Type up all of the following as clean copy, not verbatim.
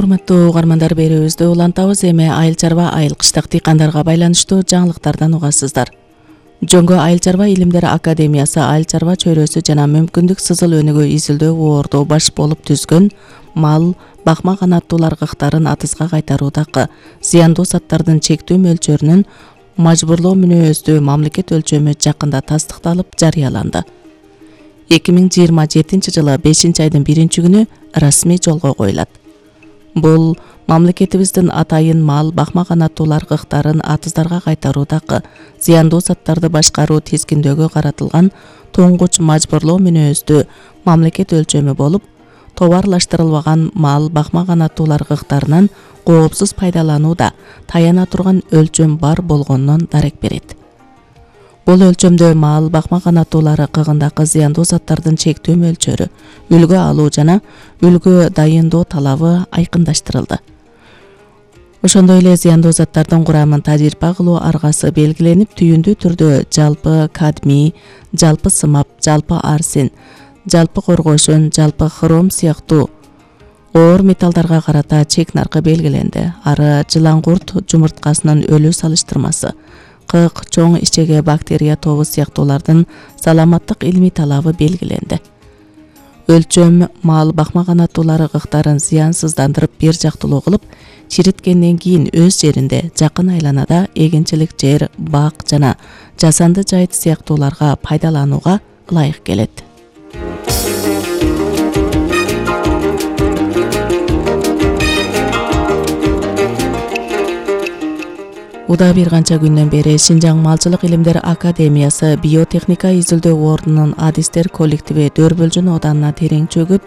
Урматтуу угармандар, берүүбүздү улантабыз. Эми айыл чарба, айыл кыштак дыйкандарга байланыштуу жаңылыктардан угасыздар. Жөнгө айыл чарба илимдер академиясы айыл чарба чөйрөсү жана мүмкүндүк сызыл өнүгүү изилдөө боордо баш болуп түзгөн мал, бакма канаттуулар кыктарын атыска кайтаруудагы зыяндуу заттардын чектүү мөлчөрүнүн мажбурлоо мүнөздүү мамлекет өлчөмү жакында тастыкталып жарыяланды. 2027 жылы 5-айдын 1-күнү расмий жолго коюлат. Бул мамлекетибиздин атайын мал, бакма канаттуулар кыктарын атыздарга кайтаруудагы зыяндуу заттарды башкаруу тизгиндөөгө каратылган туңгуч мажбурлоо мүнөздүү мамлекет өлчөмү болуп, товарлаштырылбаган мал, бакма канаттуулар кыктарынан коопсуз пайдаланууда таяна турган өлчөм бар болгонунан дарек берет. Бул өлчөмдө мал, бакма канаттуулары кыгындагы зыяндуу заттардын чектүү мөлчөрү, үлгү алуу жана үлгү дайындоо талабы айкындаштырылды. Ошондой эле зыяндуу заттардын курамын тажрыйба кылуу аргасы белгиленип, түйүндүү түрдө жалпы кадмий, жалпы сымап, жалпы арсен, жалпы коргошон, жалпы хром сыяктуу оор металлдарга карата чек наркы белгиленди. Ары жылан-курт жумурткасынын өлүү салыштырмасы, кык, чоң ичеге бактерия тобу сыяктуулардын саламаттык илмий талабы белгиленди. Өлчөм мал, бакма канаттуулары кыктарын зыянсыздандырып, бир жактылуу кылып, чириткенден кийин өз жеринде, жакын айланада эгинчилик жер, бак жана жасанды жайыт сыяктууларга пайдаланууга ылайык келет. Уда бир канча күндөн бери Шинжаң Малчылык илимдер академиясы биотехника изилдөө ордунун адистер коллективи Дөрбөлжүн оданына терең чөгүп,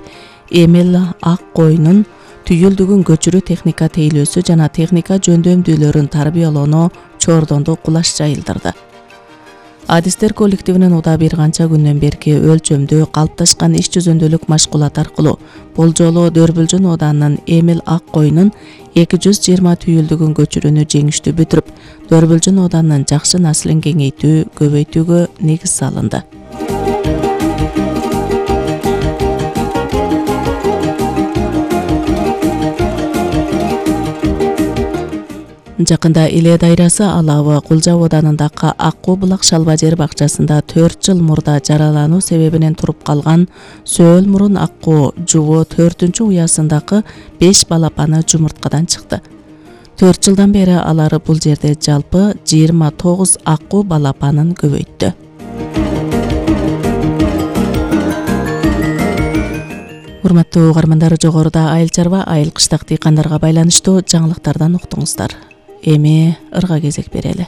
эмел ак койнун түйүлдүгүн көчүрүү техника тейлөөсү жана техника жөндөмдүүлөрүн тарбиялоону чордонду кулаш жайылдырды. Адистер коллективинин уда бир канча күндөн берки өлчөмдүү калыпташкан иш жүзүндөлүк машгулат аркылуу бул жолу Дөрбөлжүн оданынын эмел ак койнун 220 түйүлдүгүн көчүрүүнү жеңиштүү бүтүрүп, Дөрбөлжүн оданынын жакшы наслын кеңейтүү, көбөйтүүгө негиз салынды. Жакында Иле дайрасы Алабы Кулжа оданындагы Аккуу булак шалба жер бакчасында 4 жыл мурда жаралануу себебинен туруп калган сөөл мурун аккуу жубо 4-уясындагы 5 балапаны жумурткадан чыкты. 4 жылдан бери алары бул жерде жалпы 29 аккуу балапанын көбөйттү. Урматтуу угармандар, жогоруда айыл чарба, айыл кыштак дыйкандарга байланыштуу жаңылыктардан уктуңуздар. Эми ырга кезек берели.